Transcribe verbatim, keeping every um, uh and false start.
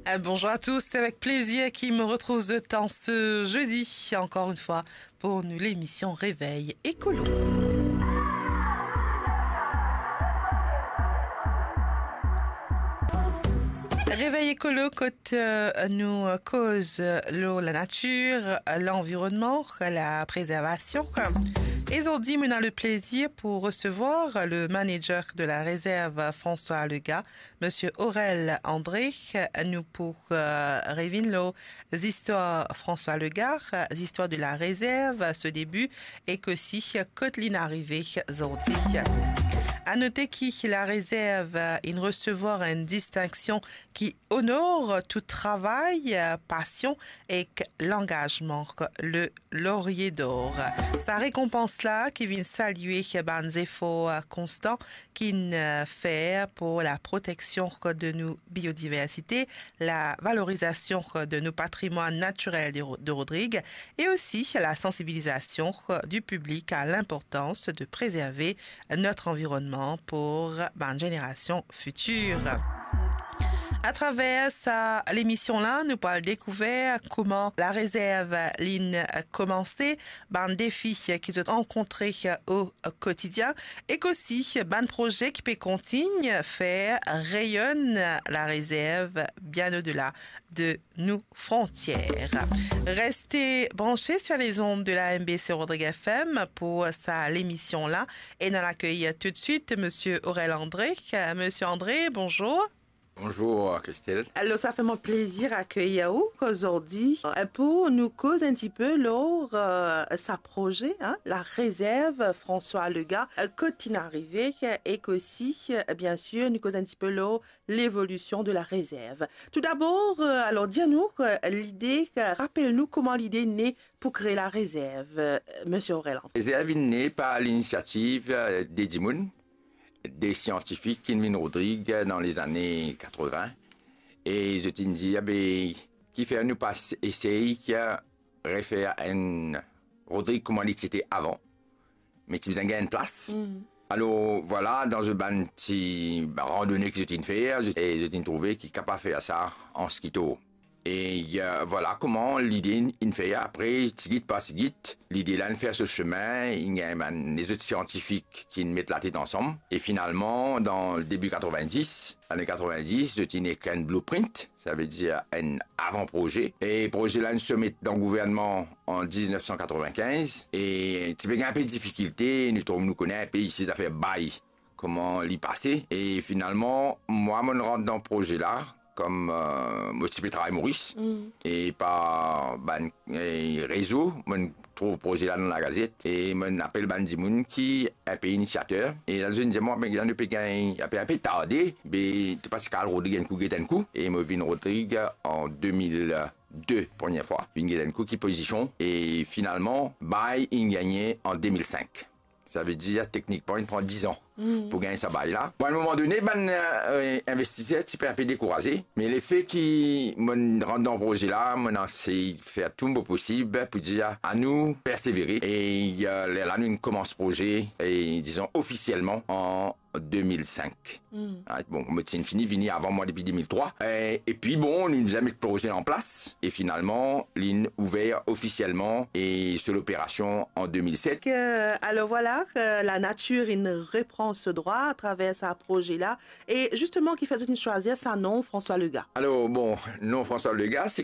Euh, bonjour à tous, c'est avec plaisir que je me retrouve autant ce jeudi, encore une fois, pour nous, l'émission Réveil Écolo. Réveil Écolo, kot, euh, nou, euh, koz, euh, lor la natir, euh, l'environnement, la préservation. Et aujourd'hui, on a le plaisir pour recevoir le manager de la réserve, François Lega, Monsieur Aurel André, nou pou, euh, revinn lor zistwar François Lega, zistwar de la réserve, so debi, ek osi kot li'nn arive zordi. A note ki la réserve inn resevwar enn distinksion ki onor tou travay, pasion ek langazman, le Laurier d'Or. Sa rekonpans la ki vinn salie bann zefor konstan ki'nn, euh, fer pour la protection de nou biodiversité, la valorisation de nou patrimwann natirel de Ro-, de Rodrig et aussi la sensibilisation du public à l'importance de préserver notre environnement pour bann zenerasion fitir. Atraver sa lemision la, nou pou al dekouver kouma la réserve li'nn koumanse, bann defi ki zot rankontre o kotidien, ek osi bann proze ki pe kontign fer reyonn la réserve bien au-delà de nos frontières. Restez branchés sur les ondes de la M B C Rodrig F M pour sa lemision la. Et nou al akeyir tout de suite Monsieur Aurel André. Euh, Monsieur André, bonjour. Bonjour, Christelle. Alors, ça fait mon plaisir accueillir vous aujourd'hui, euh, pour nous causer un petit peu lor, euh, sa proze, hein, la réserve François Lega, euh, kot li'nn arive, euh, ek osi, euh, bien sûr, nou koz un petit peu lor l'évolution de la réserve. Tout d'abord, euh, alors, dir nou, euh, lide, euh, rapel nou kouma lide ne pou kree la réserve, euh, Monsieur Aurel André. Réserve inn ne par l'initiative, euh, de dimoun, de siantifik ki'nn vinn Rodrig dan lezane katrevin, e zot inn dir, be, kifer nou pa s-, esey, euh, refer enn Rodrig kouma li ti ete avan, me ti bizin gagn enn plas. Mm. Alor, vwala, dan zot bann ti randone ki zot inn fer, zot, e zot inn trouve ki kapav fer sa an skitor. E, euh, vwala kouma lide inn, inn fer. Apre, tigit par tigit, lide la inn fer so semin, inn gagn bann lezot siantifik ki'nn met latet ansam. E finalman, dan debi katrevin-dis, lane katrevin-dis, zot inn ekrir enn blueprint, savedir enn avan-proze. E proze la inn somet dan gouvernman an diznef san katrevin-kinz, e ti pe gagn enpe difikilte, nou trouv, nou kone enpe isi zafer bay, kouma li pase. E finalman, mwa, mo'nn rant dan proze la, kom, euh, mo ti pe travay Moris, mm, e par bann, e, rezo, mo'nn trouv proze la dan lagazet, e mo'nn apel bann dimoun ki enpe inisiater. E la, zot inn dir mwa, be, nou pe gagn, enpe, enpe tarde, be, to pa ti kapav al Rodrig enn kou, get enn kou. E mo vinn Rodrig an de mil de, premie fwa. Vinn get enn kou ki pozision, e finalman, bay inn gagne an de mil sink. Savedir, teknikman, inn pran diz an, mm, pou gagn sa bay la. Bon, a enn moman done, bann, euh, investiser ti pe enpe dekouraze, me lefe ki mo'nn rant dan proze la, mo'nn esey fer tou mo posib pou dir anou persevere. E, euh, lerla nou inn koumans proze, e, dizon, ofisielman an de mil sink. Mm. Ah, bon, mo ti finn fini vini avan mwa depi de mil trwa. E, epi bon, nou bizin met proze an plas, e finalman, li'nn ouver ofisielman e so loperasion an de mil set. Ke, alor vwala, ke la natir inn repran so drwa atraver sa proze la. E zisteman, kifer zot inn swazir sa non François Lega? Alor, bon, non François Lega, se